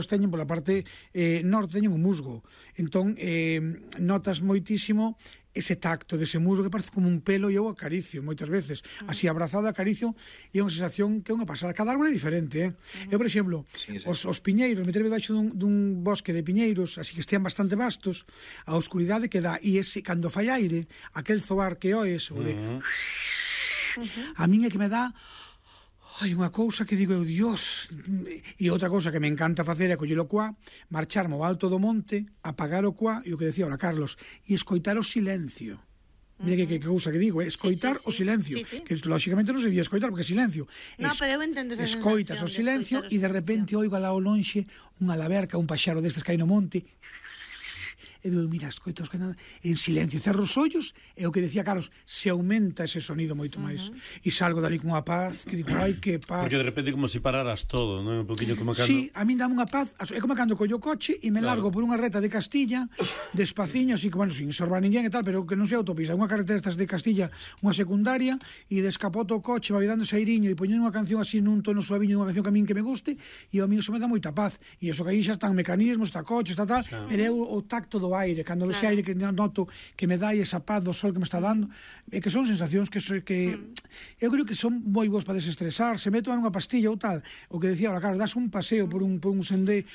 teñen pola parte norte, teñen o musgo. Entón, notas moitísimo ese tacto dese musgo que parece como un pelo e eu acaricio moitas veces. Así abrazado acaricio e é unha sensación que é unha pasada. Cada árbol é diferente, Eu, por exemplo, os piñeiros, meterme debaixo dun bosque de piñeiros, así que estean bastante vastos, a oscuridade que dá, e ese, cando fai aire, aquel zoar que oes, o de... A min é que me dá... Hai unha cousa que digo eu, Dios, e outra cousa que me encanta facer é coller o cuá, marcharme ao alto do monte, apagar o cuá, e o que decía ahora Carlos, e escoitar o silencio. Mira que cousa que digo, escoitar o silencio, que lógicamente non se debía escoitar porque é silencio. Pero eu entendo esa escoitas o silencio e de repente oigo alá ao lonxe unha laberca, un paxaro destes que hai no monte, e digo, mira, escoitas en silencio, cerro os ollos, e o que decía Carlos, se aumenta ese sonido moito máis, e salgo dali con unha paz que digo, ai, que paz, porque de repente como se pararas todo, non? Un poquinho como cando... Sí, a min dame unha paz, é como cando collo o coche e me largo por unha reta de Castilla, despaciño, así que, bueno, sin sorbar ninguén e tal, pero que non sei autopista, unha carretera estas de Castilla, unha secundaria, e descapoto o coche, vai dando sairiño e poñendo unha canción así nun tono suaviño, unha canción que a min que me guste, e ao mío se me dá moita paz, e iso que aí xa están mecanismos, está coche, está tal, pero é o tacto do aire, cando ese aire que noto que me dá esa paz do sol que me está dando, é que son sensacións que eu creo que son moi boas para desestresar, se meto unha pastilla ou tal, o que decía ahora, claro, das un paseo por un sendeiro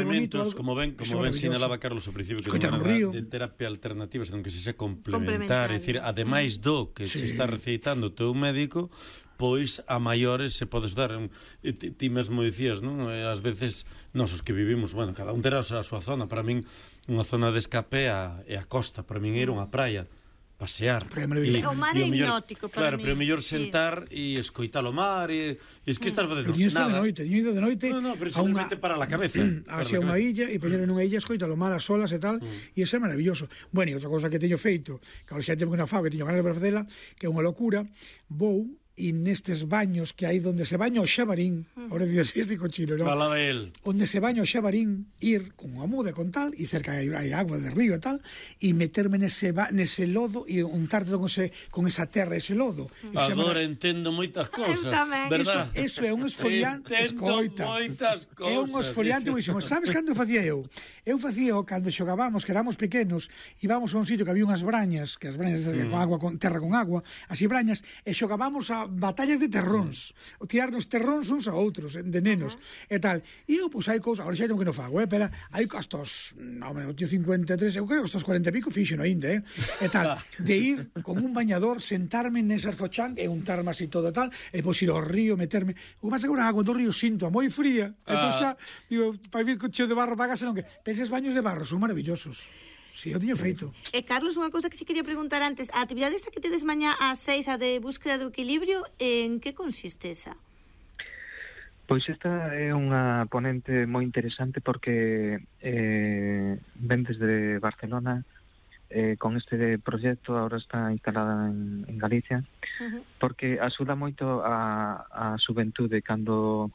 bonito, como ben sinalaba Carlos ao principio, que non é de terapia alternativa, senón que se complementar, é dicir, ademais do que se está receitando o teu médico, pois a maiores se podes dar. Ti mesmo dicías, non? Ás veces nós os que vivimos, bueno, cada un terá a súa zona. Para min unha zona de escape é a costa, para min ir a unha praia, pasear. O mar é hipnótico para mí. Claro, pero é mellor sentar e escoitar o mar e es que estás facendo nada. Teño ido de noite. No, pero simplemente para a cabeza. Hacia unha illa e poñer nunha illa, escoitar o mar, as olas e tal, e ese é maravilloso. Bueno, e outra cousa que teño feito, que ahora xa teño unha fago que teño ganas de facela, que é unha locura, vou e nestes baños que hai donde se baña o xabarín, ahora dices este cochino, non? Fala de él. Onde se baña o xabarín, ir con unha muda con tal, e cerca hai agua de río e tal, e meterme nese lodo e untarte con esa terra, ese lodo. Agora entendo moitas cousas, verdad? Eso é un esfoliante, escoita. Moitas cousas. É un esfoliante buísimo. Sabes cando facía eu? Eu facía cando xogábamos, que éramos pequenos, íbamos a un sitio que había unhas brañas, que as brañas con agua, con terra con agua, así brañas, e xogábamos a batallas de terróns, o tirarnos terróns uns a outros, de nenos, e tal. E eu, pois, hai cousas, agora xa tengo que non fago, pero hai hasta os, o tío 53, eu creo que hasta os 40 e pico fixo no ainda, e tal, de ir con un bañador, sentarme nesas fochan, e untarme así todo tal, e pois ir ao río, meterme, o que pasa que a agua do río sinto moi fría, entón xa, digo, para vir con cheo de barro para casa, non que, penses baños de barro, son maravillosos. Si, eu tiño feito. Carlos, unha cousa que si quería preguntar antes, a actividade esta que tedes mañá ás 6, a de búsqueda do equilibrio, en que consiste esa? Pois esta é unha ponente moi interesante porque ven desde Barcelona con este proxecto, agora está instalada en Galicia, porque axuda moito a xuventude cando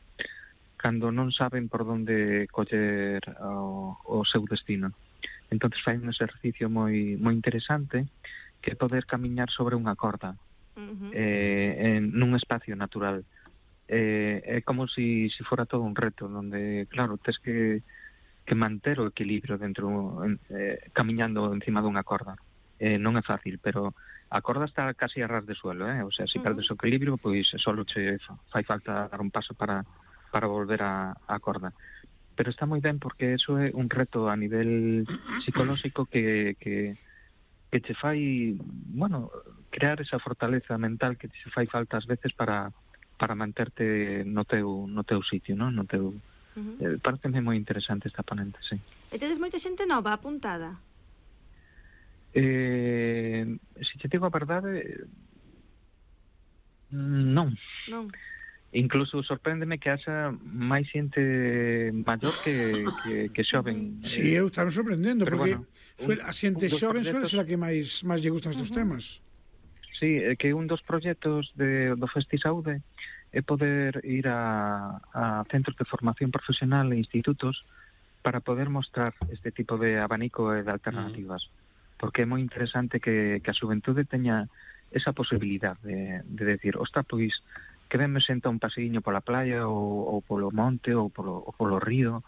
non saben por onde coller o seu destino. Entonces fai un exercicio moi interesante que é poder camiñar sobre unha corda nun espacio natural. É como si fora todo un reto donde, claro, tes que manter o equilibrio dentro, camiñando encima dunha corda. Non é fácil, pero a corda está casi a ras de suelo, o sea, se perdes o equilibrio, pois solo che fai falta dar un paso para volver a corda. Pero está moi ben porque eso é un reto a nivel psicolóxico que che fai, bueno, crear esa fortaleza mental que che fai falta ás veces para manterte no teu sitio, non? No teu pareceme moi interesante esta ponente, sí. E tedes moita xente nova apuntada? Se che digo a verdade, non. Incluso sorpréndeme que haxa máis xente maior que xoven. Si, eu estaba sorprendendo, porque a xente xoven suele ser a que máis lle gustan estes temas. Si, que un dos proxectos do Festi Saúde é poder ir a centros de formación profesional e institutos para poder mostrar este tipo de abanico e de alternativas, porque é moi interesante que a xuventude teña esa posibilidade de decir, ostras, pois que ben me senta un paseiño pola playa ou polo monte ou polo río,